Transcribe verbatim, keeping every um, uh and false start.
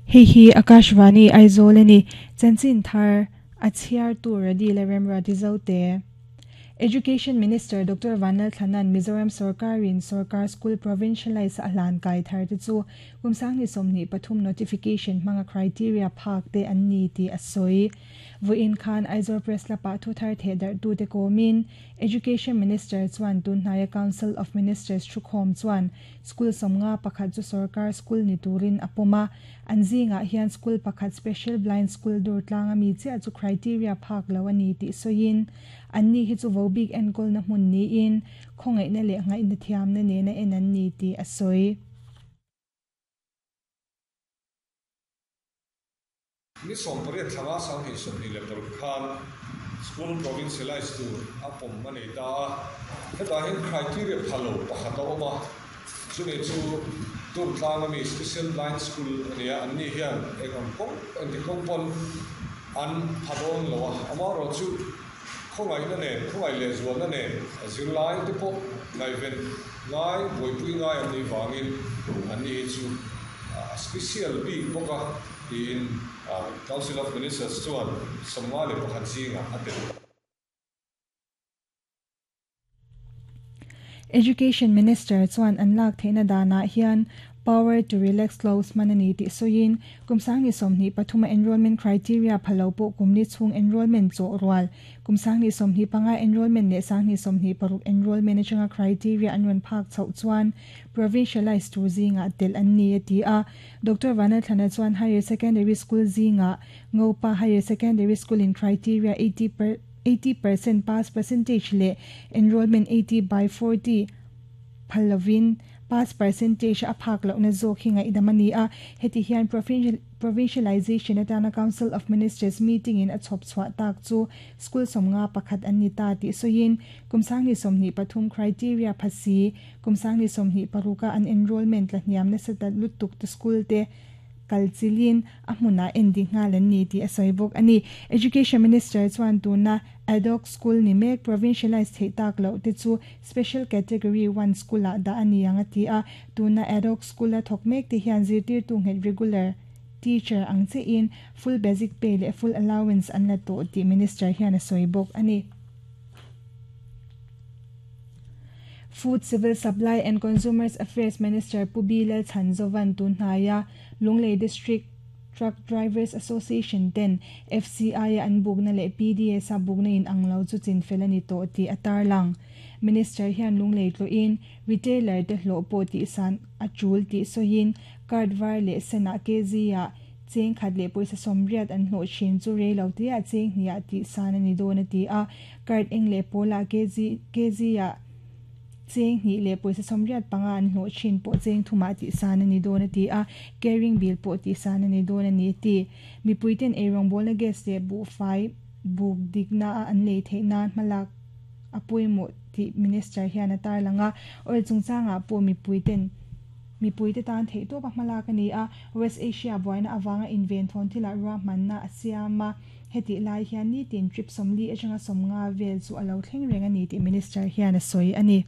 Hei hi Akashvani Aizawl ani chanchin thar a chhiar tur radi la remra ti zote. Education Minister Doctor Vanlal Thanan Mizoram Sarkarin Sarkar School Provincialize a hlan kai thar te chu kumsang ni somni pathum notification hmanga criteria phak te an ni ti a sawi. Voin khan Aizawl Press lapa thu thar the dar tu te komin Education Minister chuan tunhnaya Council of Ministers thukhawm chuan school somnga pakhat chu Sarkar School ni turin a pawma an zinga hian school pakhat Special Blind School dur tlanga mi chia chu criteria phak lo ani ti soin an ni hi chu vobik enkol na hmun ni in khongai na le ngai na thiam na ne na en an ni ti a sawi. Ni som pariat thlanga sang hi som ni le paruk khan school provincialized tur a pawm ani ta a heta hin criteria phalo pakhat a awm a chuni chu tur tlanga mi special blind school ania an ni hian eng ang kawng eng ti kawng pawn an phadawng lo a ama ro chu khongai na nen khongai leh zual na nen a zirlai te pawh ngaiven ngai buaipui ngai an ni wangin an ni hi chu a special bik bawk a tiin Council of Ministers chuan sawmnga leh pakhat zinga a tel. Education Minister chuan an lak theihna danah hian power to relax clause manani ti soin kumsang ni somni pathuma enrollment criteria phalo po kumni chung enrollment cho rual kumsang ni somni panga enrollment ne sang ni somni paruk enrollment changa criteria anron phak chau chuan provincialized tu zinga tel an ni ti a Doctor Vanal Thana chuan higher secondary school zinga ngopa higher secondary school in criteria eighty per eighty percent pass percentage le enrollment eighty by forty phalovin pass percentage a phak lo na zo khinga idamani a heti hian provincial provincialization atana Council of Ministers meeting in a chop chwa tak chu school somnga pakhat an ni ta ti soin kumsang ni somni pathum criteria phasi kumsang ni somni paruka an enrollment la hniam na sata lutuk te school te kalchilin a hmuna ending ngalan ni ti a saibok ani. Education Minister chuan tuna ad hoc school ni mek provincialized thei tak lo te chu special category one school a da ani anga ti a tuna ad hoc school a thok mek te hian zirtir tu nget regular teacher ang che in full basic pay le full allowance an la to ti minister hian a saibok ani. Food, Civil Supply and Consumers Affairs Minister Pubilal Chanzovan tunhaya Lunglei District Truck Drivers Association ten F C I an bugna le P D S a bugna in anglo chu chin felani to ti atar lang. Minister hian Lunglei tlo in retailer te hlo po ti san achul ti sohin card var le sena K Z a cheng khat le poisa somriat an hlo chin chu re lo ti a cheng hnia ti san ani do na ti a card eng le pola K Z K Z a cheng ni le poisa somriat panga an hlo chin po cheng thuma ti san ani do na ti a caring bill po ti san ani do na ni ti mi puiten erong bol na gas te bu fai buk dikna an le theina malak apui mo ti minister hian atar langa or chungchanga po mi puiten mi puite tan thei to pa malak ani a West Asia boina awanga invent thon thila ra manna asiama heti lai hian ni tin trip somli atanga somnga vel chu alo thleng reng ani ti minister hian a soi ani.